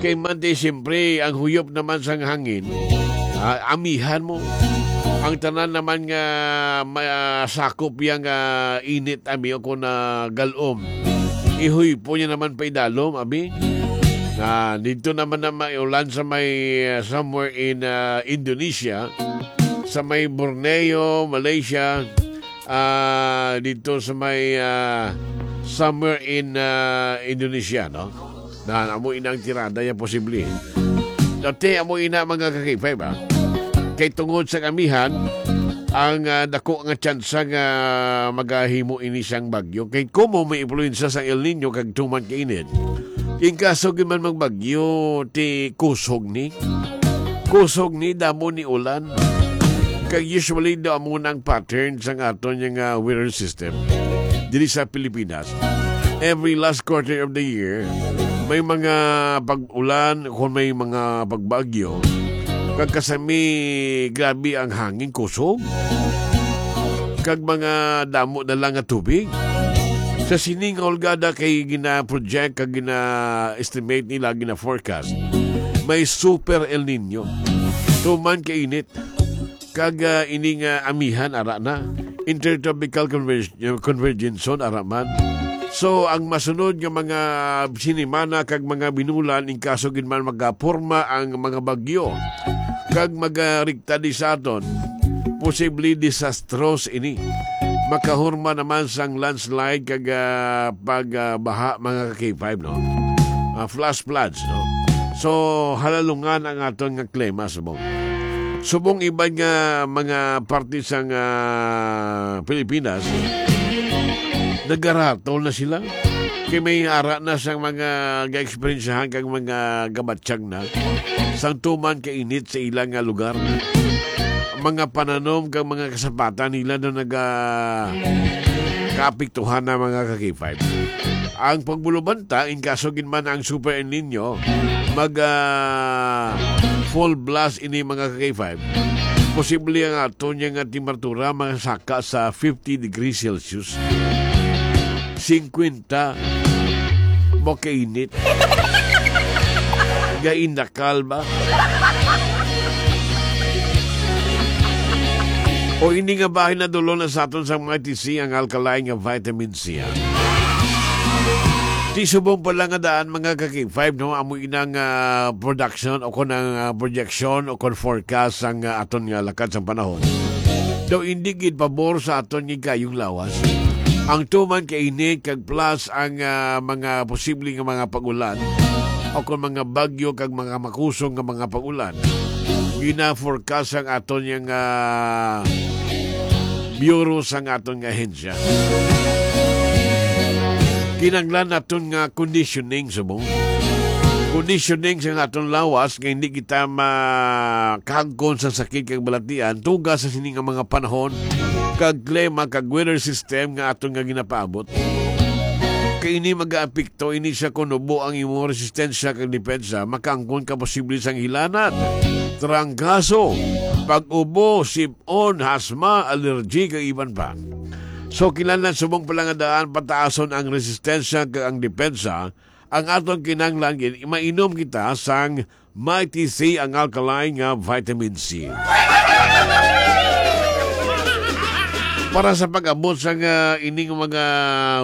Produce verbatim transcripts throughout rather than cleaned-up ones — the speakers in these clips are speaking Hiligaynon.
Kay man di, siyempre, ang huyop naman sang hangin, ah, amihan mo. Ang tanan naman nga masakop yang, ah, init, ami, o kung, ah, galom, ihuypo niya naman pa idalom, abi. Na dito naman na may ulan sa may, ah, somewhere in, ah, Indonesia, sa may Borneo, Malaysia, ah, dito sa may, ah, somewhere in, ah, Indonesia, no? Na amo inang tirada ya posible. Dati amo ina, mga ka-K five, ah. Kay tungod sa kamihan, ang, ah, dako nga tsansa nga magahimo ini sang bagyo. Kay kumo may impluwensya sang El Niño kag tuman ka init. King kaso gyud man magbagyo, ti kusog ni. Kusog ni, damo ni ulan. Kag usually, daw amo na ang pattern sang aton nga weather system diri sa Pilipinas. Every last quarter of the year, may mga pag-ulan, kung may mga pagbagyo, kag kasami, grabe ang hangin, kusog, kag mga damo na lang nga tubig. Sa sini nga hulgada kay gina-project kag gina-estimate nila, gina-forecast, may super El Niño. Tuman ka init. Kag, ah, ini nga amihan ara na. Intertropical converg-, convergence zone ara man. So, ang masunod nga mga sinimana kag mga binulan, in kaso gid man magaporma ang mga bagyo kag magarikta di sa aton, posible disastros ini. Makahurma naman sang landslide kag, ah, pag, ah, baha, mga ka-K five, no? Ah, flash floods, no? So, halalungan ang aton nga klima subong. Subong iban nga mga parte sang, ah, Pilipinas, nagaratol na sila. Kay may ara na sang mga ga-eksperyensyahan kag mga gabatyag na sang tuman ka init sa ilang nga lugar. Mga pananom kag mga kasapatan nila na naga kaapektuhan na, mga ka-K five. Ang pagbulubanta, in kaso gid man ang Super El Niño, mag, ah, full blast ini, mga ka-K five. Posible ang aton nga temperatura masaka sa fifty degrees Celsius. Singkwenta. Makainit. Gaindakal ba? O ini nga bahin na dulo na sa aton sang Mighty C, ang alkaline nga vitamin C. Di subong pala nga daan, mga ka-K five, no? Amo inang, ah, production o kon ang, ah, projection o kon forecast sang, ah, aton nga lakad sang panahon. Daw indi gid pabor sa aton nga kayong lawas. Ang tuman ka init kag plus ang, ah, mga posible nga mga pag-ulan o kon mga bagyo kag mga makusog nga mga pag-ulan. Gina-forecast ang aton nga, ah, bureau sang aton nga ahensya. Kinahanglan naton nga conditioning subong. Conditioning sa aton lawas nga hindi kita makagkon sa sakit kag balatian tungod sa sini nga mga panahon kag klima kag weather system nga aton nga ginapaabot. Kay ini magaapekto ini sa kon ubo ang imong resistensya kag depensa, makaangkon ka posible sang hilanat, trangkaso, pag-ubo, sib-on, asma, allergy, kag iban pa. So, kinahanglan subong pala nga daan pataason ang resistensya kag ang depensa, ang aton kinahanglan gid, mainom kita sang Mighty C, ang alkaline nga vitamin C. Para sa pag-abot sa nga ining mga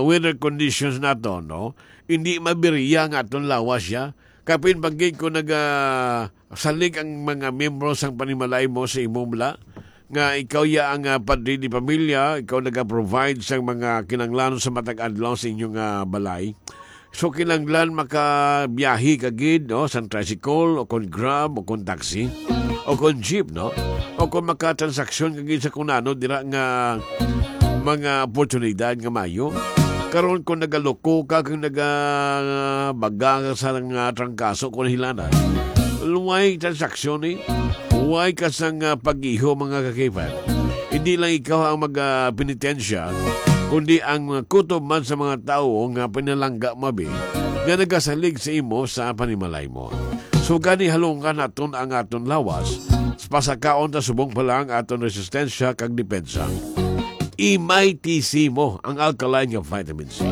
weather conditions nato, no? Hindi mabiriya nga aton lawas siya. Kapin pa gid kung naga salig ang mga miyembro sang panimalay mo sa imong bala, nga ikaw ya ang, ah, padre de pamilya, ikaw naga-provide sang mga kinahanglan sa matag adlaw sa inyong, ah, balay. So, kinahanglan makabiyahe ka gid, no, sa tricycle, o kon Grab, o kon taxi, o kon jeep, no? O kon makatransaksyon ka gid sa kunano dira nga mga oportunidad nga mayo. Karon, kung nagaluko ka, kung nagabaga ka sa nga trangkaso, kung hilanat, way transaksyon, eh. Way ka sang, ah, pag-iho, mga ka-K five. Hindi lang ikaw ang mag, ah, penitensya, kundi ang, ah, kutob man sa mga tawo nga pinalangga mabi, nga nagasalig sa imo sa panimalay mo. So, gani halungan naton ang aton lawas, pasakaon ta subong pa lang aton resistensya kag depensa. I-Mighty C mo, ang alkaline nga vitamin C.